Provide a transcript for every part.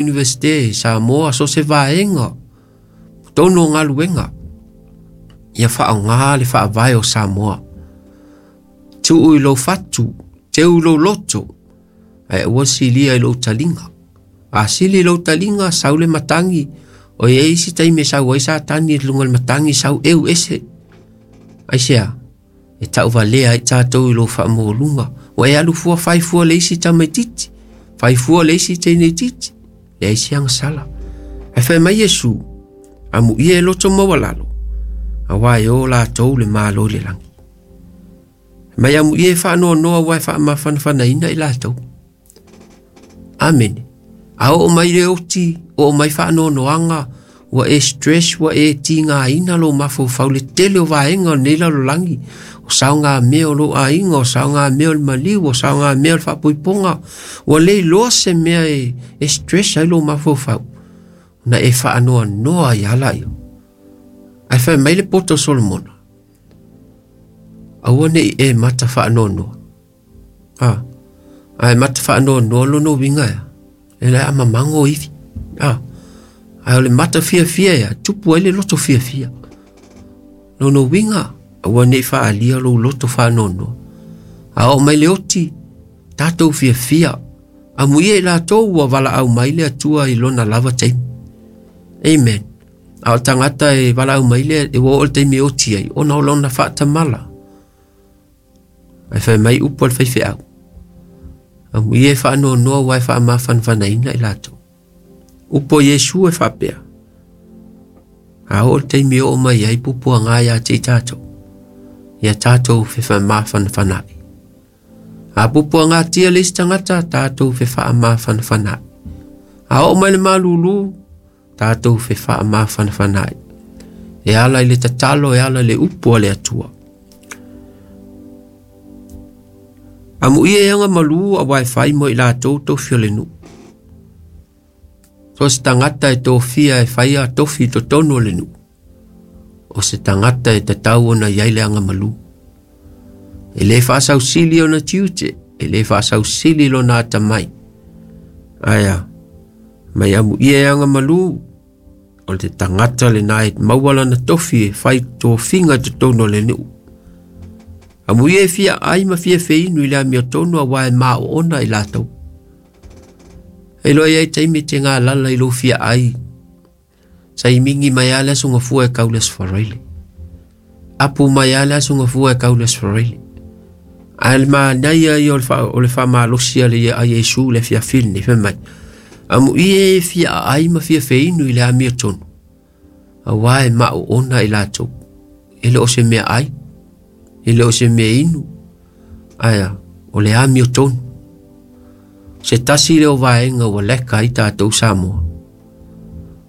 Iunivesite Samoa so se vaega totonu o galuega ia faaaogā le faavae o Samoa. Tuu i lou fatu, teu i lou loto, ae aua silia i lou taliga. A sili i lou taliga, sau le matagi, o i ai isi taimi e sau ai Satani i luga o le matagi, sau eu ese. Aisea? E tauvalea ai tatou i lou faamaualuga. Ua e alu fua fai fua le isi tamaititi, fai fua le isi teineititi, leai se agasala. Ae fai mai Iesu, amuia e loto maualalo, auā e o latou le Malo i le lagi. Mai amuia e faanoanoa aua e faamafanafanaina i latou. Amene. A oo mai le oti, oo mai faanoanoaga, ua e stress, ua e tigaina lou mafaufau le tele o vaega o lenei lalolagi, o saogamea o lou aiga, o saogamea o le maliu, o saogamea o le faapoipoga, ua le iloa se mea e, e stress ai lou mafaufau, na e faanoanoa ai lava laia. Ae fai mai le poto o Solomona, aua ne i e mata faanoanoa. A, ae mata faanoanoa lona uiga ea, e le a mamago ivi. A, ae o le mata fiafia ea, tupu ai le loto fiafia. Lona uiga, aua ne i faaalia lou loto faanoanoa. A oo mai le oti, tatou fiafia. Amuia i latou ua valaau mai le Atua i lona lava taimi. Amen. A o le tagata e valaau mai le, ua oo le taimi e oti ai, ona o lona faatamala. Ae fai mai upu a le faifeau, amuia e faanoanoa aua e faamafanafanaina i latou. Upu a Iesu e faapea, a oo le taimi e oo mai ai pupuaga ia te i tatou, ia tatou fefamafanafana'i. A pupuagatia le isi tagata, tatou fefaamafanafana'i. A oo mai le malūlū, tatou fefaamafanafana'i. E ala i le tatalo, e ala i le upu a le Atua. Amuia e aga malū auā e fai mo i latou tofi o le nuu. So se tagata e tofia e faia tofi i totonu o le nuu, o se tagata e tatau ona i ai le agamalu. E le faasausili ona tiute, e le faasausili lona atamai. Ae a, mai amuia e agamalu, o le tagata lena e maua lana tofi e fai tofiga i totonu o le nuu. Amuia e fia ai ma fia feinu i le amiotonu auā e maoona i latou. E iloa i ai taimi e te galala i lou fia ai Saimigi mai lava le aso gafua e kau le aso Faraile. Apu mai lava le aso gafua e kau le aso Faraile. Ae le manaia ia o le faamalosi a le a Iesu le afiafi lenei, fai mai, amuia e fia aai ma fia feinu i le amiotonu, auā e maoona i latou. E le o se mea ai, e le o se mea inu, ae a, o le amiotonu. Se tasi lea o vaega ua leka ai tatou Samoa.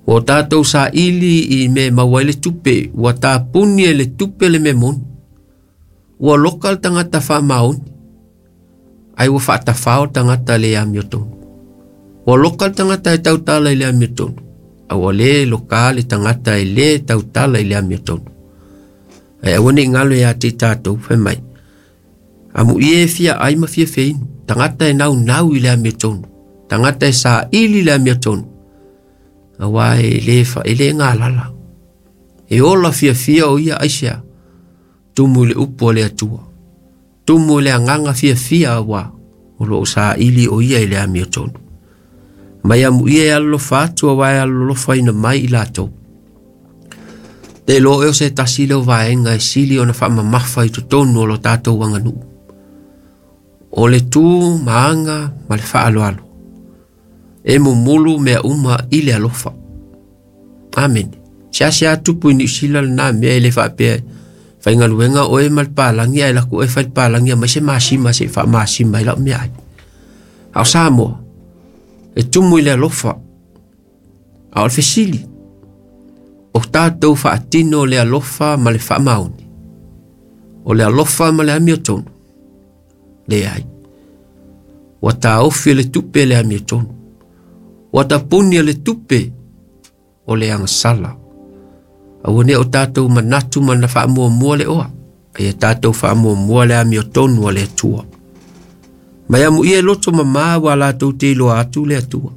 Ua o tatou saili i mea e maua ai le tupe, ua tapuni e le tupe le mea moni. Ua loka le tagata faamaoni, ai ua faatafao le tagata le amiotonu. Ua loka le tagata e tautala i le amiotonu, a ua le loka le tagata e le tautala i le amiotonu. Ae aua ne i galo ia te i tatou, fai mai, Amuia e fia ai ma fia feinu, tagata e naunau i le amiotonu, tagata e saili i le amiotonu, auā e le, fa, e le galala. E ola fiafia o ia aisea, tumu i le upu a le Atua, tumu i le agaga fiafia auā o lo o saili o ia i le amiotonu. Mai amuia e alolofa atu auā e alolofaina mai i latou. Te iloa oe o se tasi lea o vaega e sili ona faamamafa i totonu o lo tatou aganuu. O le tu ma aga ma le faaaloalo. E mumulu mea uma i le alofa. Amene. Seasea tupu i Niu Sila lena mea e le faapea faigaluega oe ma le palagi ae laku oe fai le palagi aumai se masima se i faamasima ai lau meaai. A o Samoa, e tumu i le alofa. A o le fesili, o tatou faatino le alofa ma le faamaoni, o le alofa ma le amiotonu? Leai. Ua taofi e le tupe le amiotonu. Ua tapuni e le tupe o le agasala. Aua ne o tatou manatu ma na faamuamua le oa, a ia tatou faamuamua le amiotonu a le Atua. Mai amuia e loto mamā ua latou te iloa atu le Atua.